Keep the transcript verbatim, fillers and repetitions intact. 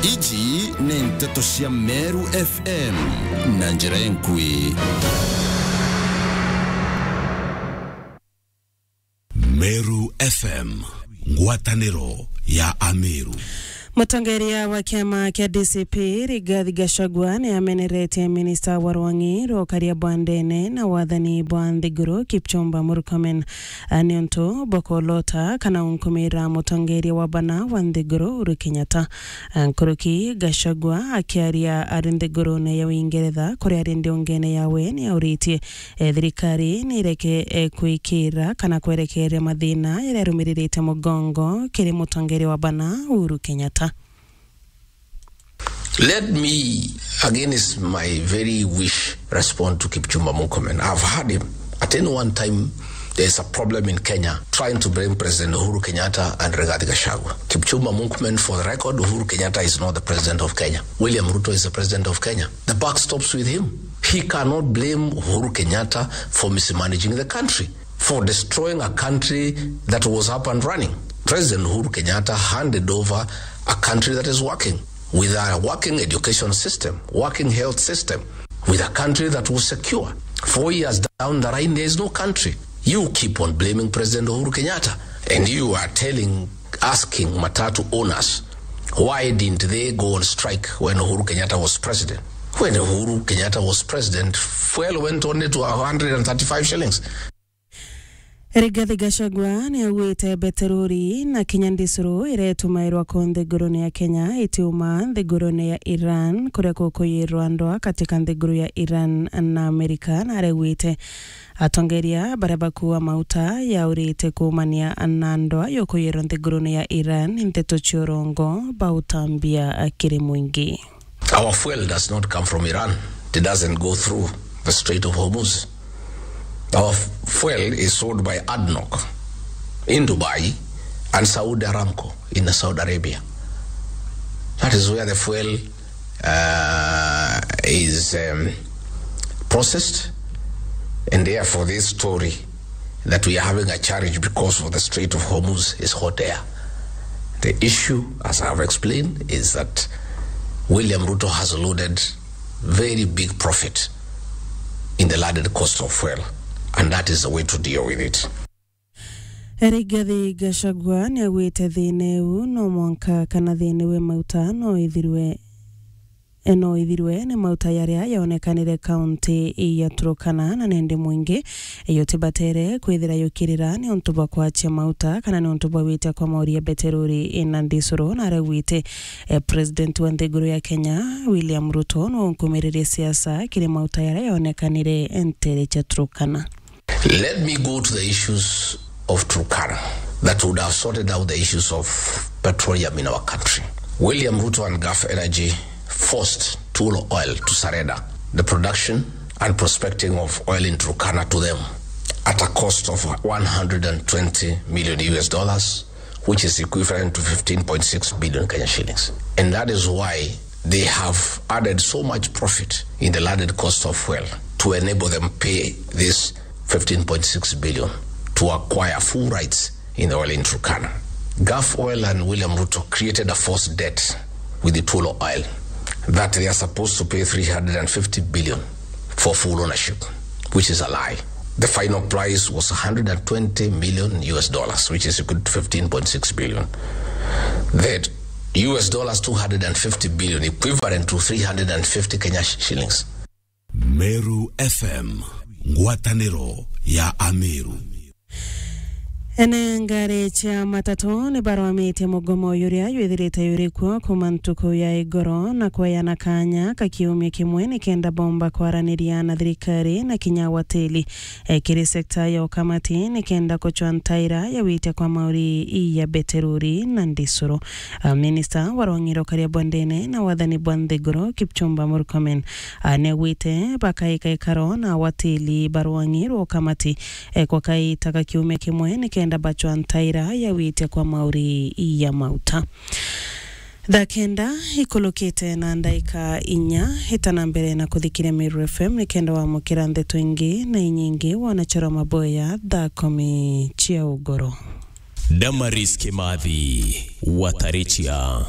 Iji ni nteto cia Meru F M na njira enkui. Meru F M, ngwataniro ya Ameru. Mutongeria wa kiama kia D C P, Rigathi Gachagua, ni ameneretie minista wa rwang'i rwa ukaria bwa ndene na wathani bwa nthiguru, Kipchumba Murkomen, a, niuntu bwa kulota kana unkumira mutongeria wa bana wa nthiguru, Uhuru Kenyatta. A, nkuruki, Gachagua akiaria ari nthigurune ya Uingeretha, kuria ari ndiungene yawe, ni auritie e, thirikari ni ireke, e, kwikira kana kwerekeria mathina jaria arumiririte mugongo kiri mutongeria wa bana Uhuru Kenyatta. Let me, against my very wish, respond to Kipchumba Murkomen. I've heard him at any one time there is a problem in Kenya trying to blame President Uhuru Kenyatta and Rigathi Gachagua. Kipchumba Murkomen, for the record, Uhuru Kenyatta is not the president of Kenya. William Ruto is the president of Kenya. The buck stops with him. He cannot blame Uhuru Kenyatta for mismanaging the country, for destroying a country that was up and running. President Uhuru Kenyatta handed over a country that is working, with a working education system, working health system, with a country that was secure. Four years down the line, there is no country. You keep on blaming President Uhuru Kenyatta, and you are telling, asking matatu owners, why didn't they go on strike when Uhuru Kenyatta was president? When Uhuru Kenyatta was president, fuel went only to a hundred and thirty-five shillings. Rigathi Gachagua ni augite beterori na kinya ndisuru iria itumairwa ku nthigurune ya Kenya itiuma nthigurune ya Iran, kuria kukuyirwa ndwa katika nthiguru ya Iran na Amerika, na araugite atongeria baria bakua mauta yaurite kuumania na ndwa yukuyirwa nthigurune ya Iran ni nteto cia urongo bautambia kiri mwingi. Our fuel does not come from Iran. It doesn't go through the Strait of Hormuz. Our f-, fuel is sold by ADNOC in Dubai and Saudi Aramco in Saudi Arabia. That is where the fuel, uh, is, um, processed, and therefore this story that we are having a challenge because of the Strait of Hormuz is hot air. The issue, as I have explained, is that William Ruto has loaded very big profit in the landed cost of fuel, and that is the way to deal with it. Rigathi Gachagua ni augite thina iu no mwanka kana thina iu e mauta no ithirwe, e, no ithirwe ni mauta yaria yaonekanire kaunti ya Turkana, na nindi mwingi yutibatere kwithira yukirira ni untu bwa kwachia mauta kana ni untu bwa gwitia kwa mauri ya beterori na ndisuru, na araugite, e, president wa nthiguru ya Kenya William Ruto no unkumiririe siasa kiri mauta yaria yaonekanire ntere cia Turkana. Let me go to the issues of Turkana that would have sorted out the issues of petroleum in our country. William Ruto and Gulf Energy forced Tullow Oil to surrender the production and prospecting of oil in Turkana to them at a cost of one hundred and twenty million U S dollars, which is equivalent to fifteen point six billion Kenya shillings. And that is why they have added so much profit in the landed cost of fuel to enable them pay this fifteen point six billion to acquire full rights in the oil in Turkana. Gulf Oil and William Ruto created a false debt with the Tullow Oil that they are supposed to pay three hundred and fifty billion for full ownership, which is a lie. The final price was one hundred and twenty million U S dollars, which is equal to fifteen point six billion. That U S dollars two hundred and fifty billion, equivalent to three hundred and fifty Kenya sh-, shillings. Meru F M, ngwataniro ya Ameru. Ene ngari cia matatu ni barwamitie mugomo uria jwithirite juri kuo kuuma ntuku ya igoro, na kweyana kanya ka kiumia kimwe nikenda bomba kwaraniria na thirikari na kinya wateli, e, kiri sekta ya ukamati nikenda kuchwa ntaira ya gwitia kwa mauri ya beterori na ndisuru. A, minista wa rwang'i rwa ukaria bwa ndene na wathani bwa nthiguru, Kipchumba Murkomen, a, niaugite bakaika ikaro na wateli ba rwang'i rwa ukamati e, kwa kaita ka kiumia kimwe nikenda bachwa ntaira ya gwitia kwa mauri ya mauta. Thaa kenda ikulukite na ndaika inya, itana mbere na kuthikiria Meru F M nikenda wamukira ndeto ingi na inyingi wona chora maboya thaa kumi cia ugoro. Damaris Kimathi, Watarichia.